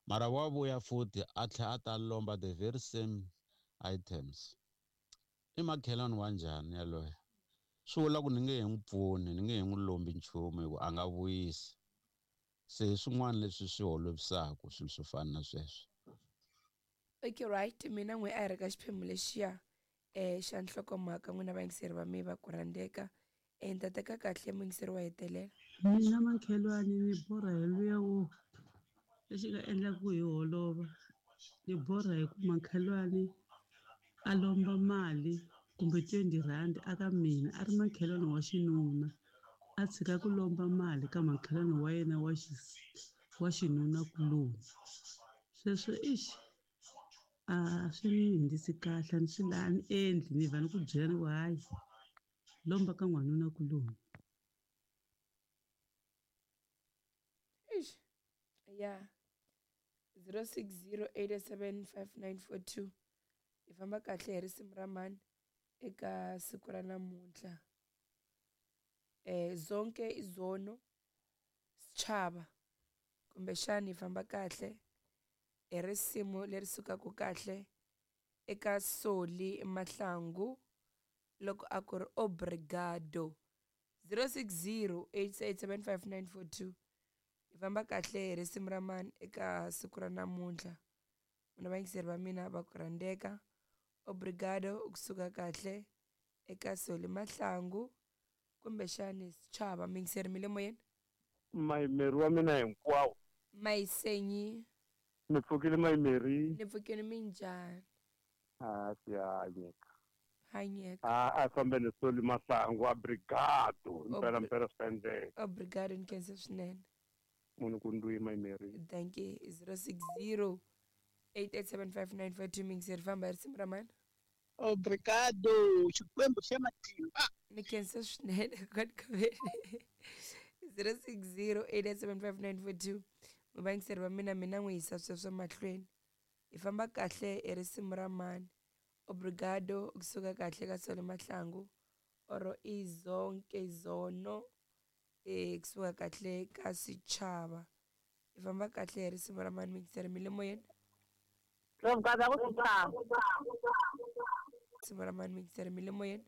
Mara wa vuya futhi a tlhela a ta lomba the very same items. I makhelwani wa njhani yaloye? Swi vula ku ni nge he n'wi pfuni, ni nge he n'wi lombi nchumu hi ku a nga vuyisi. Se hi swin'wana leswi swi holovisaka swilo swo fana na sweswo. Okay right mina n'we a hi ri ka xiphemu lexiya um xa nhlokomhaka n'wina vayingiseri va me va ku rhandzeka um ni ta teka kahle muyingiseri wa hetelela. Mina makhelwani ni borha hi luya wo lexi nga endla ku hi holova ni borha hi ku makhelwani a lomba mali kumbe 20 rand aka mina a ri makhelwani wa xinuna a tshika ku lomba mali ka makhelwani wa yena wa wa xinuna kuloni sweswo ixi a swi ni hundzisi kahle a ni swi a ni endli ni vha ni ku byela ni ku hayi lomba ka n'wanuna kuloni. Eish. Ya 0608875942 hi famba kahle hi risimu ra mani eka siku ra namuntlha. Zonke izono Sechaba kumbexani hi famba kahle hi risimu leri sukaka kahle eka Solly Mahlangu loko a ku ri obrigado. 0608875942 hi famba kahle hi risimu ra mani eka siku ra namuntlha. N'wina vayingiseri va mina va ku rhandzeka obrigado kusuka kahle eka Solly Mahlangu kumbexani Sechaba. Muyingiseri mi le moyeni? Mayimeri wa mina hinkwawo. Mayisenyi. Mi pfukile Mayimeri? Ni pfukile, minjhani? A swi hanyeka. Hanyeka. A a fambe ni Solly Mahlangu, obrigado. Mpela mpela swi ta endleka. Obrigado, ni khensa swinene. Munhu ku ndwi Mayimeri. Thank you. 060 8875942 muyingiseri famba hi risimu ra mani? Obrigado, Xikwembu xa matimba. Ni khensa swinene kokwani Khaveni. 0608875942 vayingiseri va mina mina n'wi yisa sweswo mahlweni. Hi famba kahle hi risimu ra mani? Obrigado kusuka kahle ka Solly Mahlangu oro izonke zono kusuka kahle ka Sechaba. Hi famba kahle hi risimu ra mani muyingiseri mi le moyeni? Risimu ra mani muyingiseri mi le moyeni?